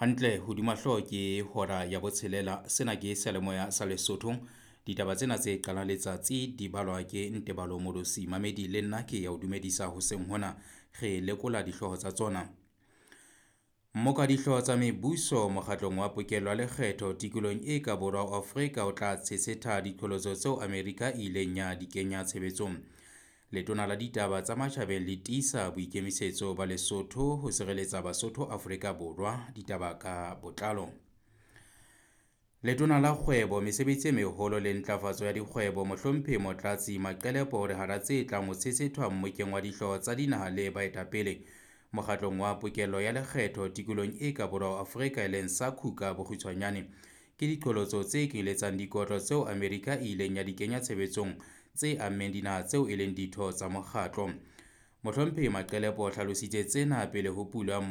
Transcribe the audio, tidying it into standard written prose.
Hantle hodima hlooho ke hora ya botshelela. Sena ke seyalemoya sa Lesotho. Ditaba tsena tse qalang letsatsi di balwa ke Ntebalo Molosi. Mamedi le nna ke ya o dumedisa hoseng hona. Re lekola dihlooho tsa tsona. Mmoka dihlooho tsa mebuso mokgatlong wa pokello ya lekgetho tikolong e ka borwa ho Afrika o tla tshetshetha diqholotso tseo Amerika e ileng ya di kenya tshebetsong. Letona la ditaba tsa matjhabeng le tiisa boikemisetso ba Lesotho ho sireletsa Basotho Afrika Borwa. Ditaba ka botlalo. Letona la kgwebo, mesebetsi e meholo le ntlafatso ya dikgwebo, Mohlomphehi Motlatsi Maqelepo o re hara tse tlang ho tshetshethwa mmokeng wa dihlooho tsa dinaha le baetapele mokgatlong wa pokello ya lekgetho tikolong e ka borwa ho Afrika e leng SACU ka bokgutshwanyane ke diqholotso tse kenyeletsang dikotlo tseo Amerika e ileng ya di kenya tshebetsong tse ammeng dinaha tseo e leng ditho tsa mokgatlo. Mohlomphehi Maqelepo o hlalositse tsena pele ho pulo ya